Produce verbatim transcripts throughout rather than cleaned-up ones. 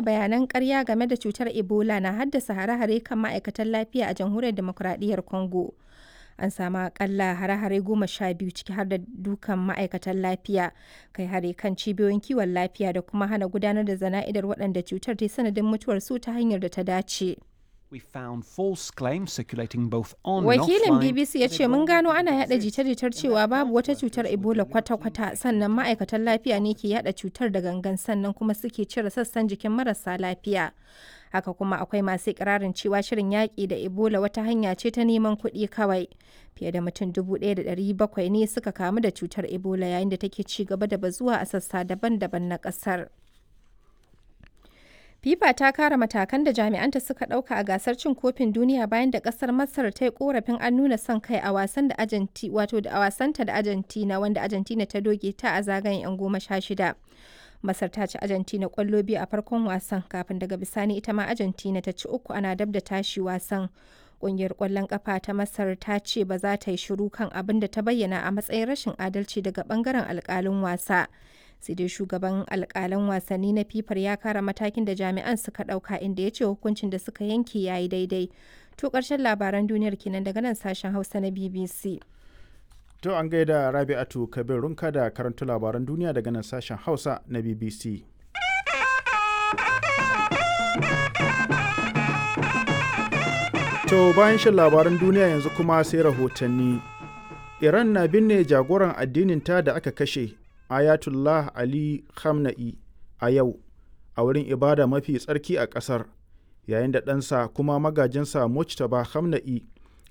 Bayanan ƙarya game da cutar Ebola na haddasa hare-hare kan ma'aikatan lafiya a Jamhuriyar Dimokuraɗiyyar Congo. An sami aƙalla hare-hare goma sha biyu, ciki har da dukan ma'aikatan lafiya, kai hari kan cibiyoyin kiwon lafiya da kuma hana gudanar da jana'izar waɗanda cutar ta yi sanadin mutuwarsu ta hanyar da ta dace. We found false claims circulating both on and Wakilin offline. B B C ya ce mun gano ana yada jita-jitar cewa babu wata cutar Ebola kwata-kwata, sannan ma'aikatan lafiya ne ke yada cutar da gangan, sannan kuma suke cire sassan jikin marasa lafiya. Haka kuma akwai masu ikirarin cewa shirin yaƙi da Ebola wata hanya ce ta neman kuɗi kawai. Fiye da mutum dubu ɗaya da ɗari bakwai ne suka kamu da cutar Ebola yayin da take ci gaba da bazuwa a sassa daban-daban na ƙasar. FIFA ta kare matakan da jami'anta suka ɗauka a gasar cin kofin duniya bayan da ƙasar Masar ta yi korafin an nuna son kai a wasan da Argentina, wato da a wasanta da Argentina, wanda Argentina ta doke ta a zagayen 'yan goma sha shida. Masar ta ci Argentina ƙwallo biyu a farkon wasan kafin daga bisani ita ma Argentina ta ci uku ana dab da tashi wasan. Ƙungiyar ƙwallon ƙafa ta Masar ta ce ba za ta yi shiru kan abin da ta bayyana a matsayin rashin adalci daga ɓangaren alƙalin wasa. Sai dai shugaban alƙalan wasanni na fifar ya kara matakin da jami'an suka ɗauka, inda ya ce hukuncin da suka yanke ya yi daidai. To, ƙarshen labaran duniyar kenan daga nan sashen Hausa na B B C. To, an gaida Rabi'atu Kabir Runka da karanta labaran duniya daga nan sashen Hausa na B B C. To, bayan shan labaran duniya, yanzu kuma sai rahotanni. Iran na binne jagoran addinin ta da aka kashe, Ayatollah Ali Khamenei, a yau a wurin ibada mafi tsarki a ƙasar, yayin da ɗansa kuma magajinsa Mujtaba Khamenei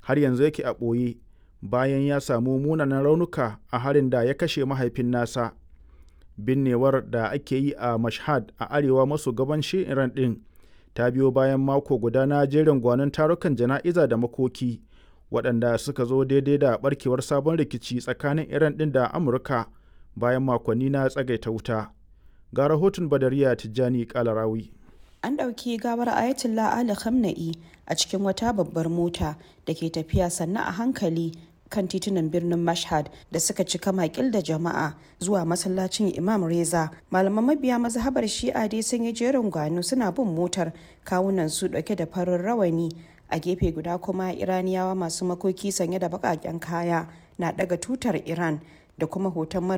har yanzu yake a ɓoye bayan ya samu munanan raunuka a harin da ya kashe mahaifin nasa. Binnewar da ake yi a Mashhad a arewa maso gabashin Iran ɗin ta biyo bayan mako guda na jerin gwanon tarukan jana'iza da makoki waɗanda suka zo daidai da barkewar sabon rikici tsakanin Iran ɗin da Amurka bayan makonni na tsagaita wuta. Ga rahoton Badariya Tijjani Kalarawi. An ɗauki gawar Ayatollah Ali Khamenei a cikin wata babbar mota da ke tafiya sannu a hankali kan titunan birnin Mashhad da suka cika makil da jama'a zuwa masallacin Imam Reza. Malaman mabiya mazhabar Shi'a dai sun yi jerin gwano suna bin motar, kawunan su ɗauke da farin rawani. A gefe guda kuma, Iraniyawa masu makoki sanye da baƙaƙen kaya na ɗaga tutar Iran da kuma hoton mara